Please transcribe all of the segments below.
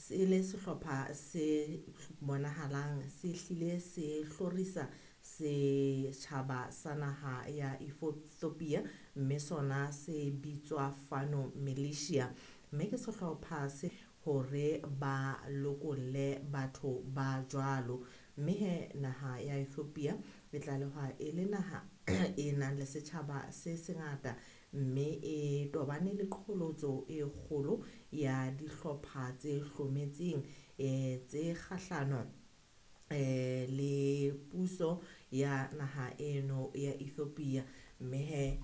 Se le sehlopha se bonahalang se hlile se hlorisa setjhaba sa naha ya Ethiopia, mme sona se bitswa Fano Militia. Mme ke sehlopha se hore ba lokolle batho ba jwalo. Mme he naha ya Ethiopia e tlalehwa e le naha e nang le setjhaba se sengata, mme e tobane le qholotso e kgolo ya dihlopha tse hlometseng tse kgahlano le puso ya naha eno ya Ethiopia. Mme he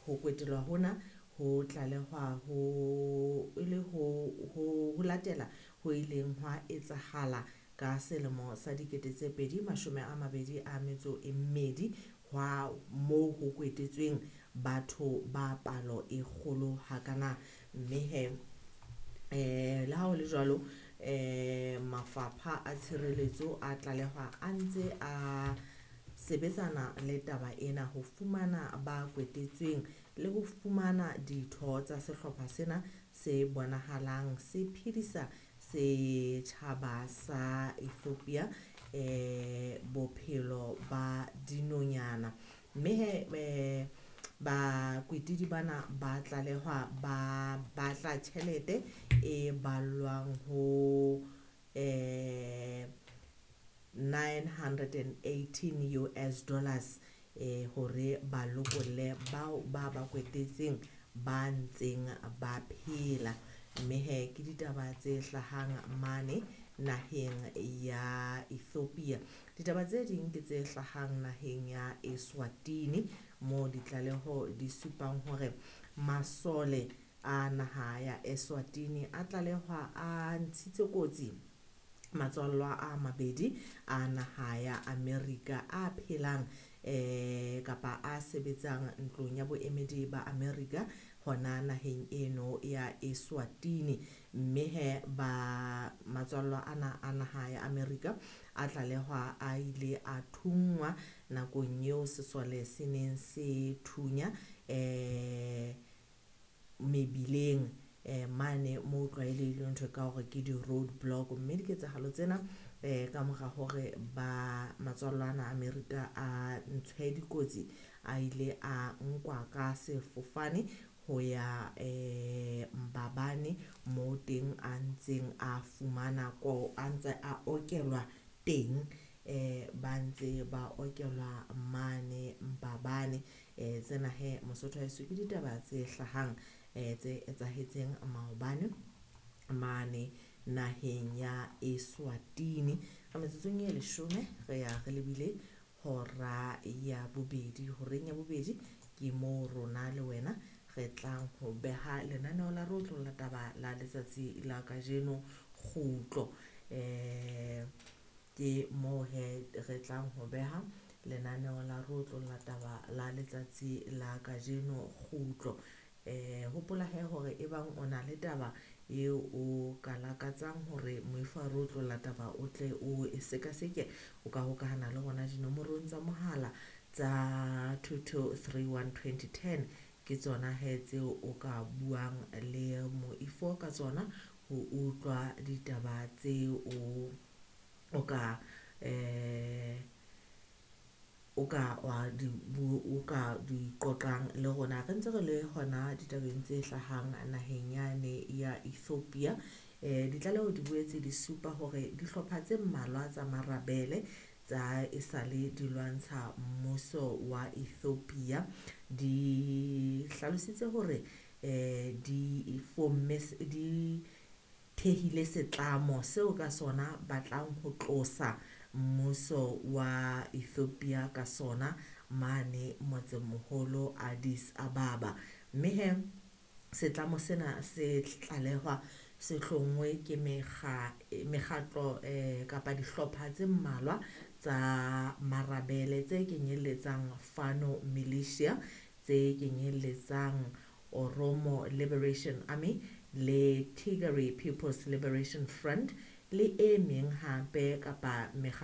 ho kwetelwa hona ho tlalehwa ho e le ho latela ho ileng hwa etsahala ka selemo sa 2022, hwa moo ho kwetetsweng batho ba palo e kgolo hakana. Mme he le ha ho le jwalo, mafapha a tshireletso a tlalehwa a ntse a sebetsana le taba ena ho fumana ba kwetetsweng le ho fumana ditho tsa sehlopha sena se bonahalang se phedisa setjhaba sa Ethiopia bophelo ba dinonyana. Mme he bakwetidi bana ba tlalehwa ba batla tjhelete e ballwang ho $918 hore ba lokolle bao ba ba kwetetseng ba ntseng ba phela. Mme he ke ditaba tse hlahang mane naheng ya Ethiopia. Ditaba tse ding ke tse hlahang naheng ya Eswatini, moo ditlaleho di supang hore masole a naha ya Eswatini a tlalehwa a ntshitse kotsi matswallwa a mabedi a naha ya Amerika a phelang kapa a sebetsang ntlong ya boemedi ba Amerika hona naheng eno ya Eswatini. Mme he ba matswallwa ana a naha ya Amerika a tlalehwa a ile a thunngwa nakong eo sesole se neng se thunya mebileng mane moo tlwaelehileng ntho ka hore ke di-road block. Mme diketsahalo tsena ka mora hore ba matswallwa ana a Amerika a ntshwe dikotsi, a ile a nkwa ka sefofane ho ya Mbabane moo teng a ntseng a fumana ko a ntse a okelwa teng, ba ntse ba okelwa mane Mbabane. Tsena he Mosotho wa heso ke ditaba tse hlahang tse etsahetseng maobane mane naheng ya Eswatini. Ka metsotsong e 10 re ya re lebile hora ya bobedi. Horeng ya bobedi ke moo rona le wena re tlang ho beha lenaneo la re otlolla taba la letsatsi la kajeno kgutlo. Ke moo he re tlang ho beha lenaneo la re otlolla taba la letsatsi la kajeno kgutlo. Hopola he hore ebang o na le taba eo o ka lakatsang hore moifo wa re otlolla taba o tle o e sekaseke, o ka hokahana le rona dinomorong tsa mohala tsa 2231 2010. Ke tsona he tseo o ka buang le moifo ka tsona ho utlwa ditaba tseo o ka o ka wa di o ka di qoqang le rona. Re ntse re le hona ditabeng tse hlahang naheng yane ya Ethiopia. Ditlaleho di boetse di supa hore dihlopha tse mmalwa tsa marabele tsa esale di lwantsha mmuso wa Ethiopia di hlalositse hore di fomme di thehile setlamo seo ka sona batlang ho tlosa mmuso wa Ethiopia ka sona mane motsemoholo Addis Ababa. Mme he setlamo sena se tlalehwa se hlonngwe ke mekgatlo kapa dihlopha tse mmalwa tsa marabele tse kenyelletsang Fano Militia, tse kenyelletsang Oromo Liberation Army le Tigray People's Liberation Front le e meng hape kapa mekgatlo.